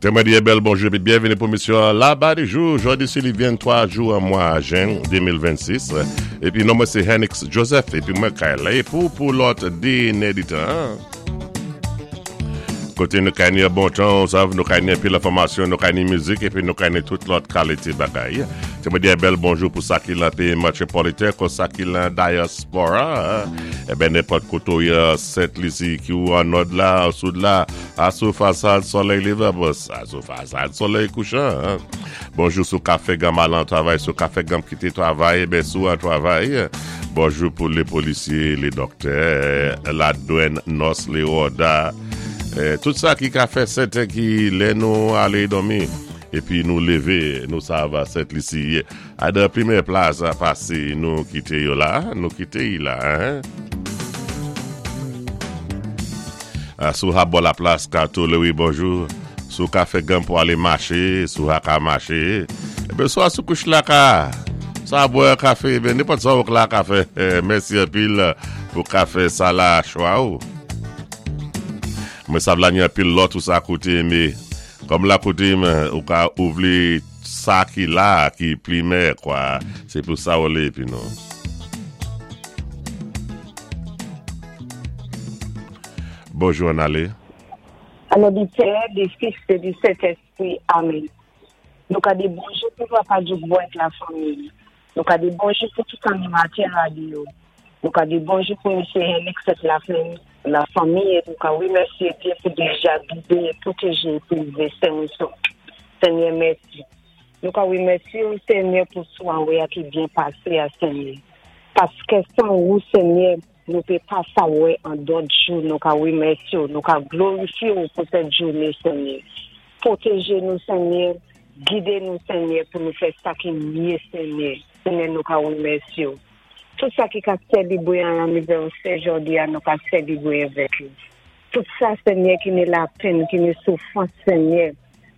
Té mwen di bèl bonjou épi byenvini pou misyon Laba di jou. Jòdi si li 23 jou an mwa jen 2026. Épi non mwen sé Hennix Joseph épi mwen kay la pou lòt 2 nèditan. Koté nou kay ni bon tan, ou sav nou kay ni anpil enfòmasyon, nou kay ni mizik épi nou kay ni tout lòt kalité bagay. Té mwen di bèl bonjou pou sa ki lan péyi metwopoliten kon sa ki lan dayaspora. Eben nenpòt koté ou yé Sent Lisi ki ou an nòd la, an soud la, Asou fasad solèy leve bos Asou fasad solèy kouchan Bonjou sou ka fè ganm al an travay Sou ka fè ganm kite travay Eben sou an travay Bonjou pou le polisye le doktè La dwèn nòs le ròda Tout sa ki ka fè sèten ki lè nou ale dòmi Epi nou leve nou sa va Sent Lisi A dan plimen plas pase nou kite yo la Nou kite y la Sou ha bò la plas kato lewi bonjou Sou ka fè ganm pou ale mache Sou ha ka mache Eben sou a sou kouch la ka Sa bwè kafe eben nenpòt sa ou k la ka fè Mèsi anpil pou kafe sa la chwa ou Mwen sav la ni anpil lòt ou sa koute me Kòm la koute m ou ka ou vle Sa ki la ki plimè kwa se pou sa ou le epi nou. Bonjou ann ale. O non di Pè, di Fis e di Sentespri. Amen. Nou ka di bonjou pou papa Djoukbo ak la fanmi li. Nou ka di bonjou pou tout animatè radyo. Nou ka di bonjou pou mesye Henix ak la la fanmi e nou ka remèsye Dye pou deja gide e pwoteje e prezève sen e sof. Senyè mèsi. Nou ka remèsye ou Senyè pou sware a ki byen pase a Senyè. Paske san ou Senyè nou pe pa sa wè an dòt jou nou ka remèsye ou nou ka glorifye ou pou sèt joune Senyè. Pwoteje nou Senyè, gide nou Senyè pou nou fè sa ki mye Senyè. Senyè nou ka remèsye ou. Tout sa ki ka selebre an anivèsè jòdi a nou ka selebre avèk yo. Tout sa Senyè ki ni lapenn, ki ni soufrans Senyè,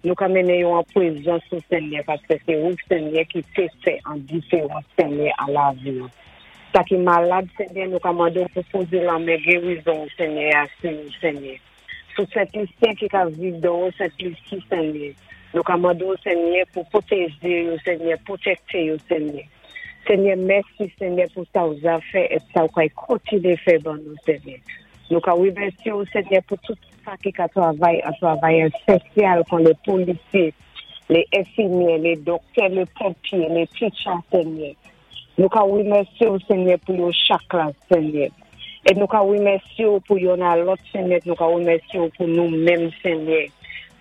nou ka mennen yo an prezans ou Senyè paske se ou Senyè ki te fè an diferans Senyè an lavi yo. Sa ki malad Senyè nou ka mande w pou poze lanmen gerizon ou Senyè a sou yo Senyè. Sou Sent Lisyen ki ka viv dòwò Sent Lisi Senyè. Nou ka mande w Senyè pou pwoteje yo Senyè, pwotekte yo Senyè. Senyè mèsi Senyè pou sa w za fè et sa w kay kontinye fè ban nou Senyè. Nou ka remèsye w Senyè pou tout sa ki ka travay an travayè sosyal kon le polisye, le enfimyè, le doktè, le ponpye, le teacher Senyè. Nou ka remèsye w Senyè pou yo chak la Senyè. E nou ka remèsye w pou yonn a lòt Senyè, nou ka remèsye w pou nou menm Senyè.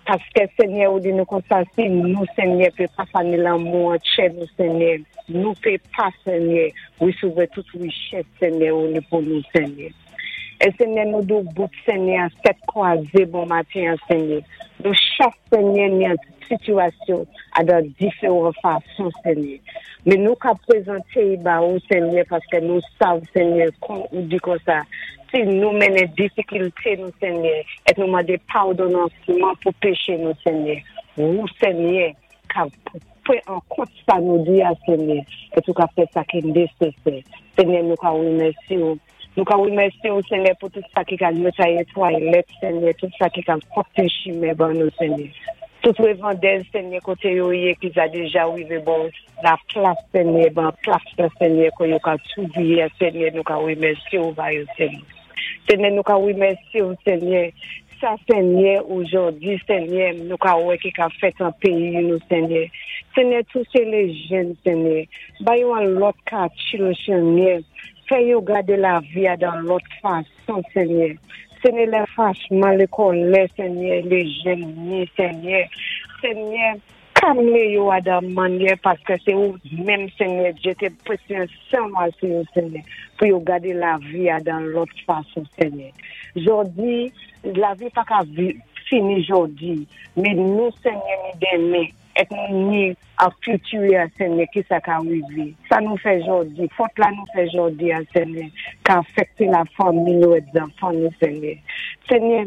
Paske Senyè ou di nou konsa si nou Senyè pe pa fa ni lanmou an tchè nou Senyè, nou pe pa Senyè resevwa tout richès Senyè ou ni pou nou Senyè. E Senyè nou di w bout Senyè an tèt kwaze bon maten an Senyè. Nou chak Senyè ni an sitiyasyon a dan diferan fason Senyè. Men nou ka prezante y ba ou Senyè paske nou sav Senyè kon ou di konsa si nou mennen difikilte nou Senyè et nou mande padonansman pou peche nou Senyè ou Senyè ka pran an kont sa nou di a Senyè et ou ka fè sa ki nesesè Senyè nou ka remèsye ou. Nou ka remèsye ou Senyè pou tout sa ki ka netwaye twalèt Senyè, tout sa ki ka pwòpte chimen ban nou Senyè. Tout revandèz Senyè kote yo ye ki sa deja rive ba w la plas Senyè, ban plas la Senyè ke yo ka twouve a Senyè nou ka remèsye ou ba yo Senyè. Senyè nou ka remèsye ou Senyè, sa Senyè ojòdi Senyè nou ka wè ki ka fèt an peyi nou Senyè. Senyè touche le jèn Senyè, ba yo an lòt katye Senyè. Fè yo gade lavi a dan lòt fason, Senyè. Senyè, lè fachman, lè kòlè, Senyè, lè jèn ni, Senyè. Senyè, kalme yo a dan mannyè, paske se ou menm, Senyè, jete presyon ou a sou yo, Senyè, pou yo gade lavi a dan lòt fason, Senyè. Jodi, lavi pa ka fini jodi, men nou, Senyè, ni demen. Et nou ni an futur a Senyè kisa ka rive sa nou fè jodi fot la nou fè jodi a Senyè ka afekte la fanmi nou et zanfan nou Senyè Senyè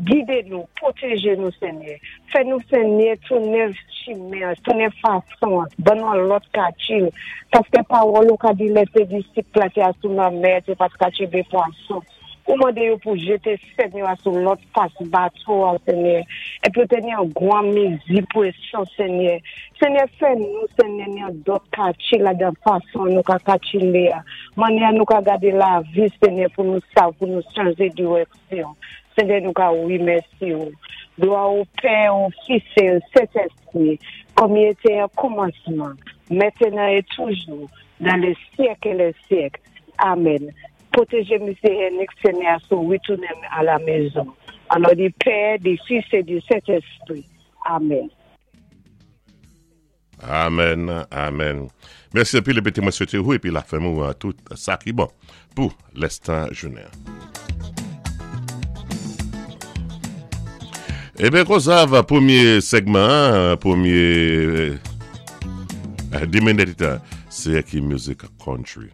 gide nou pwoteje nou Senyè fè nou Senyè tounen chimen an tounen fason an ban nou an lòt katil paske pawòl ou ka di lè se disip la te a sou lanmè te pat ka tchebe pwason ou mande yo pou jete sèn yo a sou lòt fas bato a Senyè. Épi yo té ni an gwan mézi pwésyon, Senyè. Senyè, fè nou, Senyè, ni an dòt katye ladan fason nou ka katchilé a, mannyè nou ka gadé lavi, Senyè, pou nou sav, pou nou chanjé dirèksyon. Senyè, nou ka rimèsye ou. Glwa o Pè, o Fis é o Sentèspri, kòm i été an kòmansman, mentenan é toujou, dan lè syèk é lè syèk. Amèn. Pwotéjé Misyé Hennick, Senyè a sou ritounen a la mezon. An non di Pè, di Fis é di Sentèspri. Amèn. Amen, amen. Mèsi anpil epi te mwen swete ou epi la fanmi ou tout sa ki bon pou lèstan jounen. Eben konsa va premye segman, premye 2 minit se ki music country.